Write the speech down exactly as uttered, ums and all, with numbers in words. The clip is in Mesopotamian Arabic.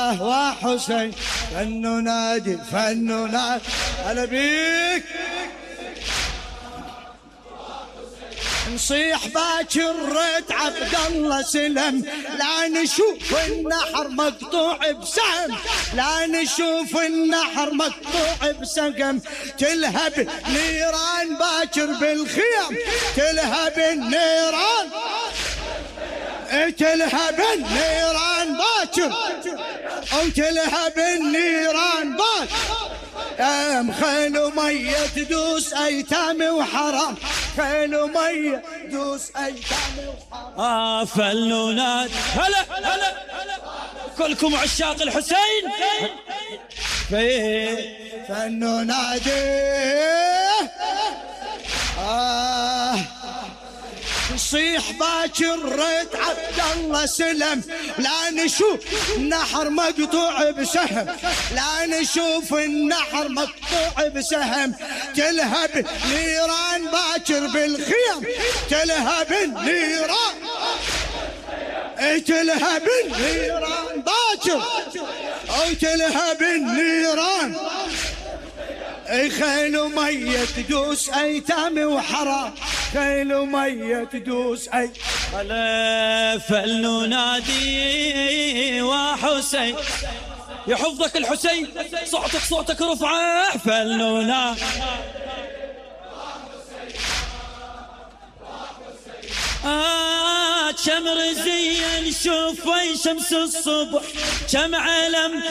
آه وحسين فن نادي فن نادي هلا بيك نصيح باكر ريت عبد الله سلم لا نشوف النحر مقطوع بسهم لا نشوف النحر مقطوع بسهم تلهب نيران باكر بالخيم تلهب النيران تلهب النيران باكر او تلهب النيران باكر ام خيل مية تدوس ايتام وحرام خيل مية تدوس ايتام وحرام اه فلونات هلا هلا كلكم عشاق الحسين فن نادي آه نصيح باكر ريت عبد الله سلم لا نشوف النحر مقطوع بسهم لا نشوف النحر مقطوع بسهم تلهب نيران باكر بالخيم تلهب النيران تلهب النيران باكر او تلهب النيران خيل مية تدوس ايتام وحرام خيل مية تدوس اي هلا فل نادي وحسين يحفظك الحسين صوتك صوتك رفعه فل نادي آه كم رزيا نشوف وين شمس الصبح كم علم